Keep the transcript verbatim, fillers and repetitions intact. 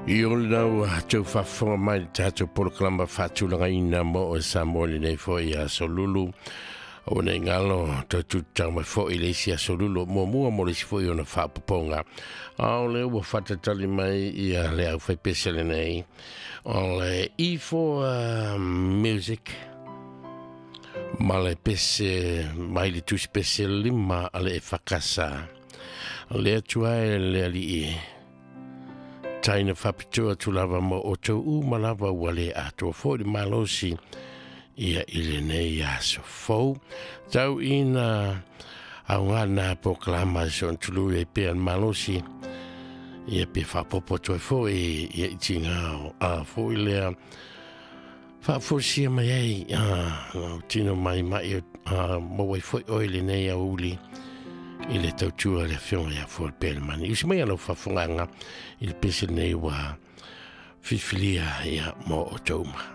I o lau tau faafofoga mai le tatou polokalama faatulagaina mo o Samoa lenei foi aso Lulu. O nei galo tau tutau mai foi le isi aso Lulu muamua mo le isi foi ona faapopoga. A o lea ua faatatali mai ia le aufaipese lenei o le E four Music ma le pese mai le tusi pese lima a le Efakasa. Le atua e le alii taina faapitoa atu lava mo o tou uma lava ua le atoa foi le malosi ia i lenei aso fou. Tau ina augā na polokalama e soona e pea le malosi ia pe faapopo atu ai foi ia i tigā a foi lea faafosia mai ai lau tino maimai maua ai foi oe lenei aoauli i le tautua le afioga ia Fuapelemani. Usi mai lau faafofogaga i le pese lenei ua filifilia ia mo o tou uma.